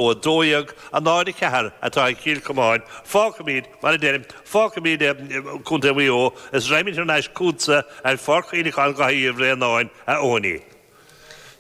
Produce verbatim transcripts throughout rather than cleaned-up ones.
Ó a dó dhéag a náid a ceathair atá ag Cill Chomáin, fágfaimid, mar a deirim, fágfaimid Contae Mhaigh Eo is raghaimid thar n-ais chugatsa ar Pháirc Chuimhneacháin Dhaithí Uí Bhraonáin, a Eoiní.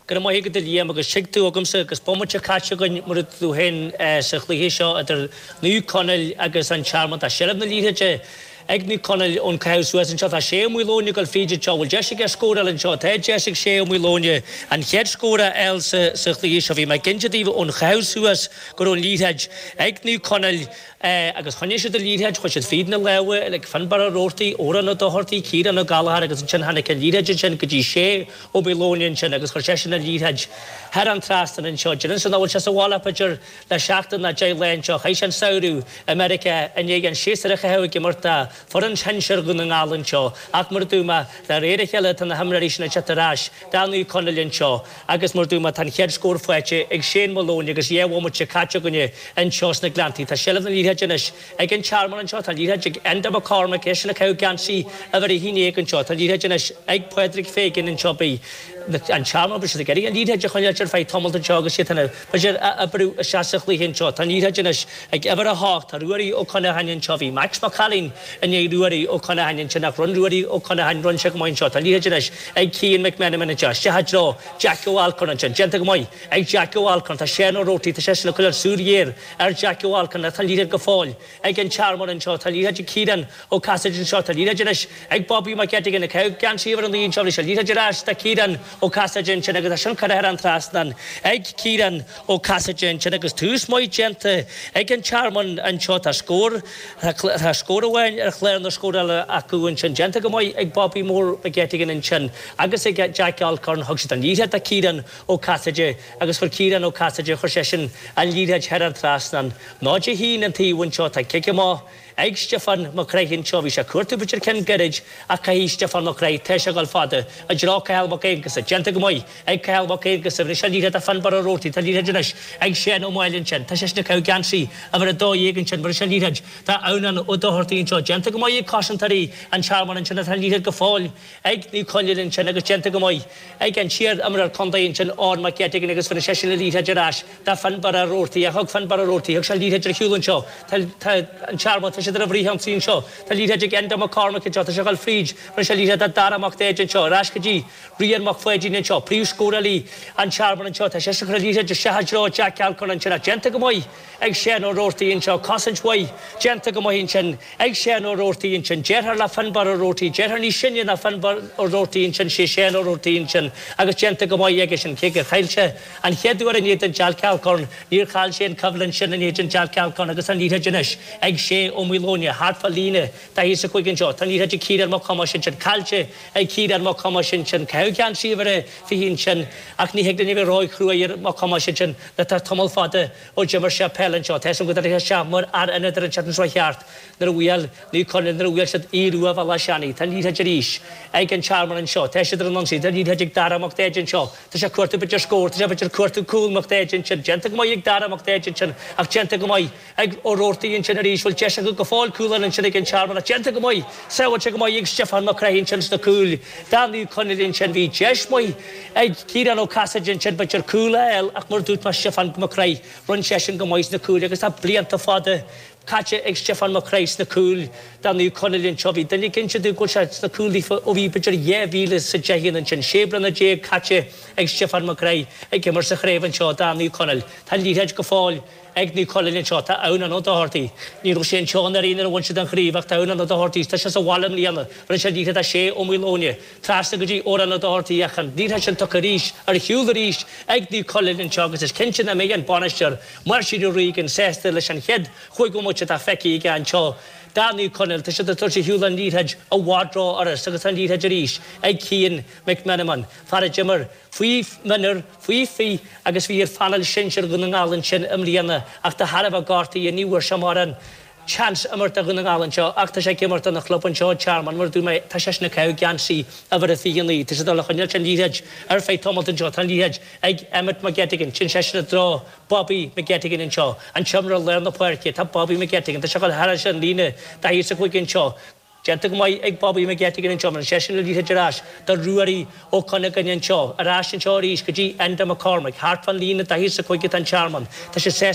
Go raibh maith agat a Liam agus tuig tú agamsa agus bomaite caite againn mar a dúirt tú féin sa chluiche seo idir Naomh Conaill agus an Tearmann. Tá seilbh na liathróide ag Naomh Conaill ón caitheamh suas anseo. Tá Shay Ó Maoileoin ag dul fríd anseo. Bhfuil deis aige scóráil anseo? Tá deis ag Shay Ó Maoileoin an chéad scór a fháil sa chluiche seo. Bhí mé ag inse daoibh ón chaitheamh suas go raibh an liathróid ag Naomh Conaill agus choinnigh siad an liathróid, chuaigh siad fríd na lámha ag Fionnbarra Ó Roarty, Odhrán Ó Dochartaigh, Ciarán Ó Gallchóir agus ansin tháinig an liathróid ansin go dtí Shay Ó Maoileoin ansin agus chuir seisean an liathróid thar an trasnán anseo. Déarfainnse nach bhfuil sé sa bhaile b'fhéidir le seachtain ná deich lá anseo. Chaith sé an samhradh i Meiriceá i ndiaidh an séasúr a chaitheamh ag imirt do foireann shinsir Dhún na nGall anseo. Ach mar a dúirt mé, de réir a chéile tá na himreoirí sin ag teacht ar ais do Naomh Conaill anseo agus mar a dúirt mé tá an chéad scór faighte ag Shane Maloney agus dhá bhomaite caite againne anseo sna Gleanntaí. Tá seilbh na liathróide anois ag an Tearmann anseo. Tá an liathróid ag Enda McCormack, eisean ag caitheamh geansaí uimhir a haon déag anseo. Tá an liathróid anois ag Pádraig Fagan anseo. Beidh an Tearmann, beidh siad ag iarraidh an liathróid a choinneáilt ar feadh tamalt anseo agus iad chun, b'fhéidir, a oibriú isteach sa chluiche anseo. Tá an liathróid anois ag uimhir a hocht. Tá Ruairí Ó Conacháin anseo. Bhí Max Mac Cailín i ndiaidh Ruairí Ó Conacháin ansin ach rinne Ruairí Ó Conacháin, rinne sé go maith anseo. Tá an liathróid anois ag Cian McMenamin anseo. Isteach i dtreo Jack Ó Alcorn ansin. Déanta go maith ag Jack Ó Alcorn. Tá Seán Ó Roarty, tá seisean ag coinneáil súil ghéar ar Jack Ó Alcorn ach tá an liathróid go fóill ag an Tearmann anseo. Tá an liathróid ag Ciarán Ó Casaide anseo. Tá an liathróid anois ag Bobby McGettigan ag caitheamh geansaí uimhir a naoi anseo. Bhí sé liathróid ar ais do Ciarán Ó Casaide ansin agus é sin curtha thar an trasnán ag Ciarán Ó Casaide ansin agus tús maith déanta ag an Tearmann anseo. Tá scór, tá scór amháin ar chlár na scórála acu ansin. Déanta go maith ag Bobby Mór McGettigan ansin agus ag Jack Alcorn. Thug siad an liathróid do Ciarán Ó Casaide agus chuir Ciarán Ó Casaide, chuir seisean an liathróid thar an trasnán. Náid a haon an taobh anseo. Tá cic amach ag Stiofán Mac Craith anseo. Bhí sé ag cuartú b'fhéidir ceann gairid ach caithfidh Stiofán Mac Craith, tá sé ag dul fada i dtreo Cathal Mac Aonghusa. Déanta go maith ag Cathal Mac Aonghusa. Anois an liathróid do Fionnbarra Ó Roarty. Tá an liathróid anois ag Seán Ó Máille ansin. Tá seisean ag caitheamh geansaí uimhir a dó dhéag ansin. Mar is an liathróid do Adhamhnán Ó Dochartaigh anseo. Déanta go maith ag cosantóirí an Tearmainn ansin. Tá an liathróid go fóill ag Naomh Conaill ansin agus déanta go maith ag an t-iar-imreoir contae ansin Eoin McGettigan agus rinne seisean an liathróid ar ais do Fionnbarra Roarty ach thug Fionnbarra Roarty, thug sé an liathróid ar shiúl anseo. Tá an Tearmann, tá siad ar an bhfrithionsaí anseo. Tá an liathróid ag Enda McCormack anseo, tá sé ag dul fríd, rinne sé an liathróid do Dara Mac Daid anseo, ar ais go dtí Rian Mac Pháidín anseo, príomhscórálaí an Tearmainn anseo. Tá seisean ag cur an liathróid isteach i dtreo Jack Alcorn ansin ach déanta go maith ag Seán Ó Roarty anseo, cosaint mhaith déanta go maith ansin ag Seán Ó Roarty ansin, deartháir le Fionnbarra Roarty, deartháir níos sine ná Fionnbarra Ó Roarty ansin, sé Seán Ó Roarty ansin agus déanta go maith aige sin, cé gur chaill sé an chéad uair in éadan Jack Alcorn, níor chaill sé an coimhlint sin in éadan Jack Alcorn agus an liathróid anois ag Shay Ó Maoileoin thart fá líne daichead is a cúig anseo. Tá an liathróid ag Ciarán Mac Thomáis ansin, caillte ag Ciarán Mac Thomáis ansin, caitheadh geansaí uimhir a fiche ansin ach ní thig linn a bheith róchruaidh ar Mac Thomáis ansin nuair atá tamall fada ó d'imir sé peil anseo. Tá 'fhios agam go dtabharfaidh sé isteach mar fhear ionaid ar an tseachtain seo thart nuair a bhuail Naomh Conaill, nuair a bhuail siad Aodh Rua Bhealach Seanaidh. Tá an liathróid arís ag an Tearmann anseo. Tá siad ar an ionsaí. Tá an liathróid ag Dara Mac Daid anseo. Tá sé ag cuartú b'fhéidir scór. Tá sé b'fhéidir ag cuartú cúl Mac Daid ansin. Déanta go maith ag Dara Mac Daid ansin ach déanta go maith ag Ó Roarty ansin arís. Bhfuil deis acu go fóill cúl a fháil ansin ag an Tearmann ach déanta go maith, sábháilte go maith ag Stiofán Mac Craith ansin sna cúil do Naomh Conaill ansin. Bhí deis mhaith ag Ciarán Ó Casaide ansin b'fhéidir cúl a fháil ach mar a dúirt mé Stiofán Mac Craith, rinne seisean go maith sna cúil agus tá blianta fada caite ag Stiofán Mac Craith sna cúil do Naomh Conaill anseo. Bhí duine ag inse domh go bhfuil sé sna cúil daofa ó bhí b'fhéidir dhá mhíle is a deich ansin. Sé bliana déag caite ag Stiofán Mac Craith ag imirt sa chraobh anseo do Naomh Conaill. Tá an liathróid go fóill ag Naomh Conaill anseo. Tá Adhamhnán Ó Dochartaigh. Ní raibh sé anseo anuraidh nuair a bhain siad an chraobh ach tá Adhamhnán Ó Dochartaigh, tá sé sa bhaile i mbliana. Rinne sé an liathróid do Shea Ó Maoileoin. Trasna go dtí Odhrán Ó Dochartaigh ach an liathróid sin tugtha arís ar shiúl arís ag Naomh Conaill anseo agus is cinnte nach mbeidh an bainisteoir Máirtín Ó Regan sásta leis an chéad chúig bhomaite atá feicthe aige anseo do Naomh Conaill. Tá siad ag tabhairt ar shiúl an liathróid i bhfad rófhurast agus an liathróid arís ag Cian McMenamin, fear a d'imir faoi mhionúir, faoi fiche agus bhí ar phainéal sinsir Dhún na nGall ansin i mbliana ach de thairbhe gortaithe ní bhfuair sé mórán seans imirt do Dhún na nGall anseo ach tá sé ag imirt dona chlub anseo, Tearmann, mar a dúirt mé, tá seisean ag caitheamh geansaí uimhir a fiche a naoi. Tá siad ag dul a choinneáilt an liathróid ar feadh tamalt anseo. Tá an liathróid ag Emmet McGettigan. Sin seisean i dtreo Bobby McGettigan anseo. An t-imreoir lár na páirce. Tá Bobby McGettigan. Tá sé ag dul thar an líne daichead is a cúig anseo. Déanta go maith ag Bobby McGettigan anseo, baineann seisean an liathróid ar ais do Ruairí Ó Cuinneagáin anseo, ar ais anseo arís go dtí Enda McCormack, thart fán líne daichead is a cúig atá an Tearmann. Tá sé sásta.